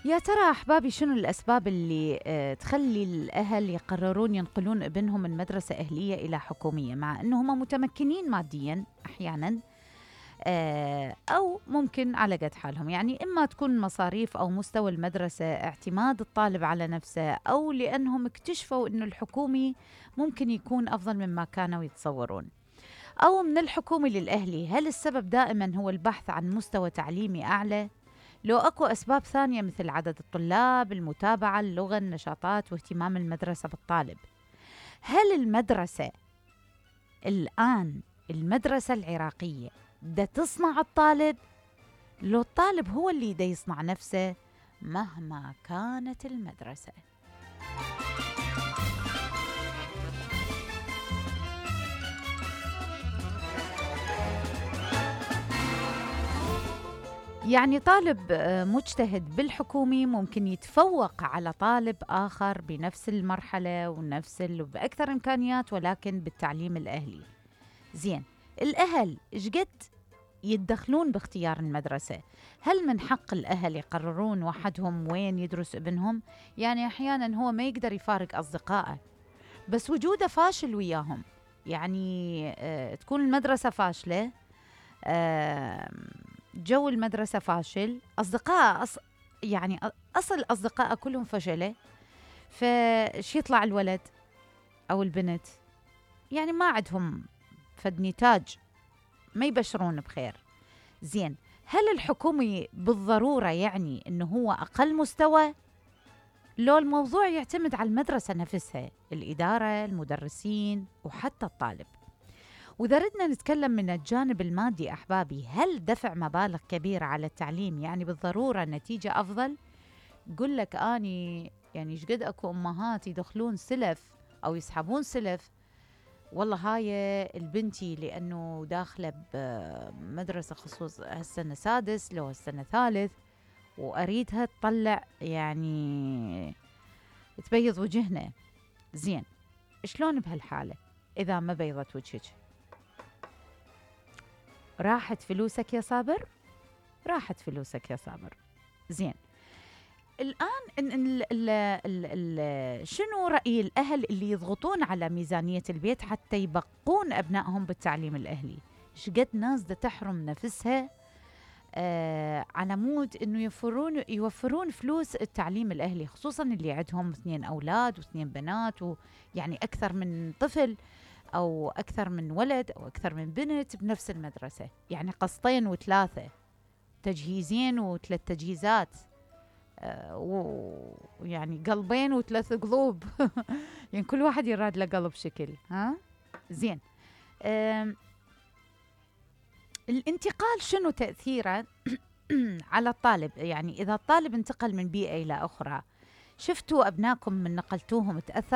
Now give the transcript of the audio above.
يا ترى أحبابي شنو الأسباب اللي تخلي الأهل يقررون ينقلون ابنهم من مدرسة أهلية إلى حكومية، مع أنه هم متمكنين ماديا أحيانا، أو ممكن على قد حالهم؟ يعني إما تكون مصاريف أو مستوى المدرسة، اعتماد الطالب على نفسه، أو لأنهم اكتشفوا أنه الحكومي ممكن يكون أفضل مما كانوا يتصورون. أو من الحكومي للأهلي، هل السبب دائما هو البحث عن مستوى تعليمي أعلى؟ لو أكو أسباب ثانية مثل عدد الطلاب، المتابعة، اللغة، النشاطات، واهتمام المدرسة بالطالب. هل المدرسة الآن، المدرسة العراقية، دا تصنع الطالب؟ لو الطالب هو اللي دا يصنع نفسه مهما كانت المدرسة. يعني طالب مجتهد بالحكومي ممكن يتفوق على طالب آخر بنفس المرحلة بأكثر إمكانيات، ولكن بالتعليم الأهلي. زين، الأهل إشقد يتدخلون باختيار المدرسة؟ هل من حق الأهل يقررون وحدهم وين يدرس ابنهم؟ يعني أحيانا هو ما يقدر يفارق أصدقائه، بس وجوده فاشل وياهم. يعني تكون المدرسة فاشلة، جو المدرسة فاشل، أصدقاء يعني أصل أصدقاء كلهم فشلة، فش يطلع الولد أو البنت؟ يعني ما عندهم فد نتاج، ما يبشرون بخير. زين، هل الحكومي بالضرورة يعني إنه هو أقل مستوى؟ لو الموضوع يعتمد على المدرسة نفسها، الإدارة، المدرسين، وحتى الطالب. وإذا ردنا نتكلم من الجانب المادي أحبابي، هل دفع مبالغ كبيرة على التعليم يعني بالضرورة نتيجة أفضل؟ قل لك أني يعني شقد أكو أمهات يدخلون سلف أو يسحبون سلف، والله هاي البنتي لأنه داخلة بمدرسة خصوص هالسنة سادس لو هالسنة ثالث، وأريدها تطلع يعني تبيض وجهنا. زين، شلون بهالحالة إذا ما بيضت وجهك؟ راحت فلوسك يا صابر، راحت فلوسك يا صابر. زين، الآن شنو رأي الأهل اللي يضغطون على ميزانية البيت حتى يبقون أبنائهم بالتعليم الأهلي؟ شقد ناس دا تحرم نفسها على مود إنه يوفرون فلوس التعليم الأهلي، خصوصاً اللي عندهم 2 أولاد و2 بنات، ويعني أكثر من طفل أو أكثر من ولد أو أكثر من بنت بنفس المدرسة، يعني قسطين و3، تجهيزين و3 تجهيزات، ويعني قلبين و3 قلوب يعني كل واحد يراد له قلب شكل. ها زين، الانتقال شنو تأثيره على الطالب؟ يعني إذا الطالب انتقل من بيئة إلى أخرى، شفتوا أبنائكم من نقلتوهم تأثر